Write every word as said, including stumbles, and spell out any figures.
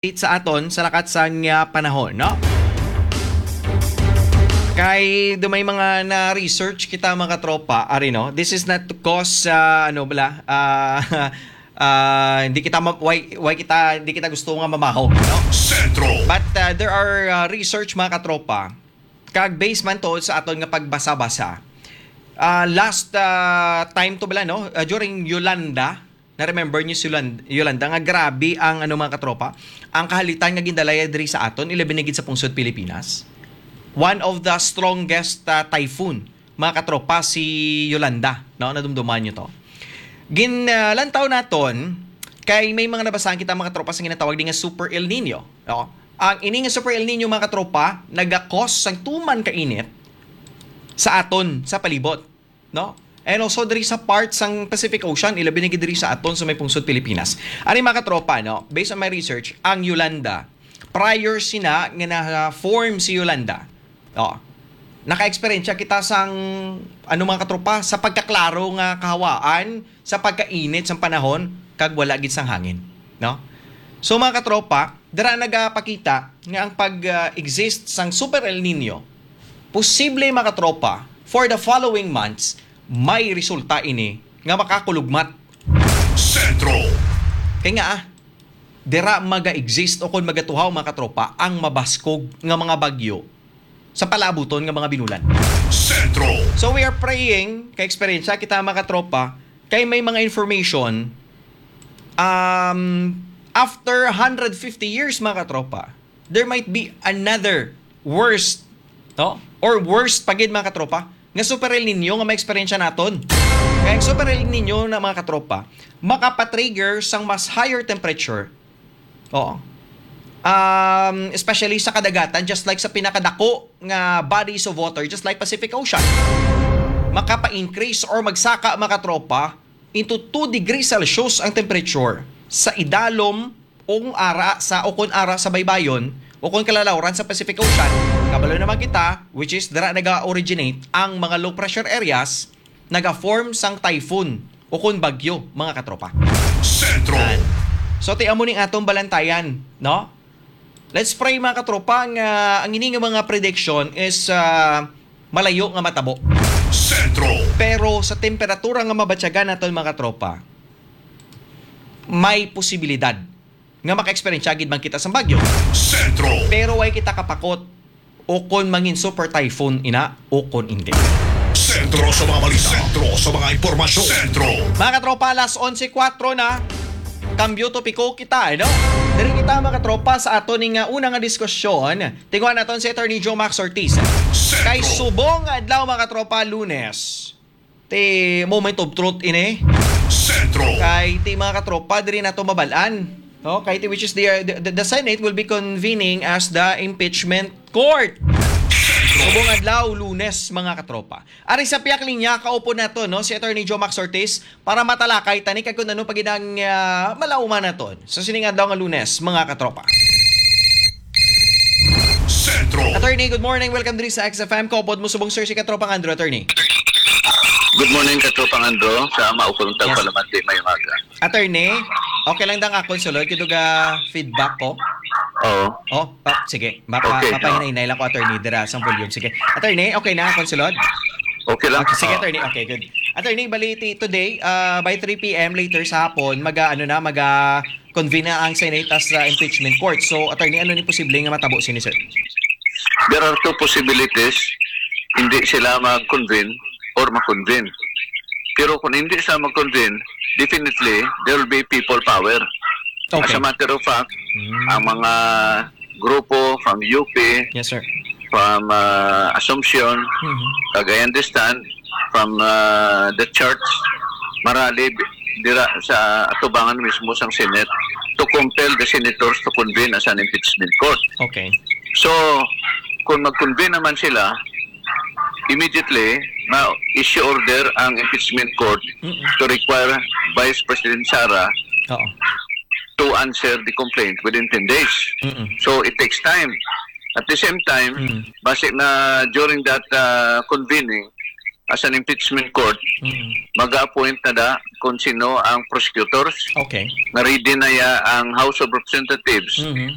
sa aton sa lakat sang, ah, panahon, no? Kay do may mga na-research kita, mga katropa, ari, no? This is not to cause, ah, ano bala, ah, ah, hindi kita ma-, why, why kita, hindi kita gusto nga mamaho, no? Sentro. But, ah, there are, ah, research, mga katropa, kag based man to sa aton nga pagbasa-basa. Ah, last, ah, time to bala, no? Ah, during Yolanda, na-remember niyo si Yolan-, Yolanda, nga grabe ang, ano, mga katropa, ang kahalitan nga gindalaya diri sa aton, ilabi na gid sa pungsod Pilipinas. One of the strongest, ah, typhoon, mga katropa, si Yolanda, no? Nadumduman niyo to. Gin, ah, lantaw naton, kay may mga nabasahan kita, mga katropa, sa ginatawag din nga Super El Nino, no? Ang ini nga Super El Nino, mga katropa, nagakos sang tuman ka init sa aton, sa palibot, no? And also diri sa part sang Pacific Ocean, ilabi na gid diri sa aton sa may pungsod Pilipinas. Ari, mga katropa, no, based on my research, ang Yolanda, prior sina nga na-form si Yolanda, no, naka-eksperyensya kita sang, ano, mga katropa, sa pagkaklaro nga kahawaan, sa pagkainit sang panahon, kag wala gid sang hangin, no? So, mga katropa, dira nagapakita nga ang pag-exist sang Super El Nino, posible, mga katropa, for the following months, may resulta ini nga makakulugmat. Sentro. Kay nga, ah, dira maga-exist o kon magatuhaw, mga katropa, ang mabaskog nga mga bagyo sa palaabuton nga mga binulan. Sentro. So, we are praying, kay eksperyensya kita, mga katropa, kay may mga information, um, after hundred fifty years, mga katropa, there might be another worst, no? Or worst pa gid, mga katropa, nga Super El Nino nga maeksperiensya naton. Kay ang Super El Nino na, mga katropa, makapatrigger sang mas higher temperature. Oo. Um, especially sa kadagatan, just like sa pinakadako nga bodies of water, just like Pacific Ocean. Makapa-increase or magsaka, mga katropa, into two degrees Celsius ang temperature sa idalom o kung ara sa, o kung ara sa baybayon o kung kalalawran sa Pacific Ocean. Kabalo naman kita, which is dira naga-originate ang mga low pressure areas, naga-form sang typhoon o kung bagyo, mga katropa. Sentro. Yan. So, ti amo ning atong balantayan, no? Let's pray, mga katropa, nga ang ini nga mga prediction is, ah, malayo nga matabo. Sentro. Pero sa temperatura nga mabatyagan naton, mga katropa, may posibilidad nga maka-eksperyensya gid man kita sang bagyo. Sentro. Pero way kita kapakot o kon mangin super typhoon ina o kon hindi. Sentro sa mga balita. Sentro sa mga impormasyon. Sentro. Mga katropa, alas onse kuwatro na. Kambyo topiko kita, eh, no? Diri kita, mga katropa, sa aton ning, uh, una nga diskusyon. Tinguha naton si Attorney Joe Max Ortiz. Sentro. Kay subong nga adlaw, mga katropa, Lunes. Ti moment of truth ini. Sentro. Kay ti, mga katropa, diri nato mabal-an, no? Kay ti, which is the, the, the Senate will be convening as the impeachment court. Subong adlaw, Lunes, mga katropa. Ari sa piyak linya, kaupod nato, no, si Attorney Joe Max Ortiz para matalakay tani kag kung ano pa gid ang, ah, malauman naton sa sining adlaw nga Lunes, mga katropa. Sentro. Attorney, good morning. Welcome diri sa X F M. Kaupod mo subong, sir, si Katropang Andrew, Attorney. Good morning, Katropang Andrew. Sa maupong Yes. tagpalamati, may umaga. Attorney, okay lang dang akon sulod? Kay duga feedback ko. Oo. Oh, pa, sige. Mapa, Okay, mapahinay-hinay lang ko, Attorney, dira sang volume. Sige. Attorney, okay na akon sulod? Okay lang. Okay, sige, Oo. Attorney. Okay, good. Attorney, bali, ti-, today, ah, by three p m later sa hapon, maga, ano na, maga convene na ang Senate as, ah, impeachment court. So, Attorney, ano ni posible nga matabo sini, sir? There are two possibilities. Hindi sila mag-convene or ma-convene. Pero kung hindi sila mag-convene, definitely, there will be people power. Okay. As a matter of fact, Mm. ang mga grupo from U P, Yes, sir. from, ah, Assumption, Mhm. kag I understand, from, ah, the church, marali dira sa atubangan mismo sang Senate to compel the senators to convene as an impeachment court. Okay. So, kung mag-convene naman sila, immediately, ma-issue order ang impeachment court Mm-mm. to require Vice President Sara Oo. to answer the complaint within ten days. Mm-mm. So, it takes time. At the same time, Mm. basi na during that, uh, convening, as an impeachment court, Mhm. mag-appoint na da kung sino ang prosecutors. Okay. Nga ready na ya ang House of Representatives. Mhm.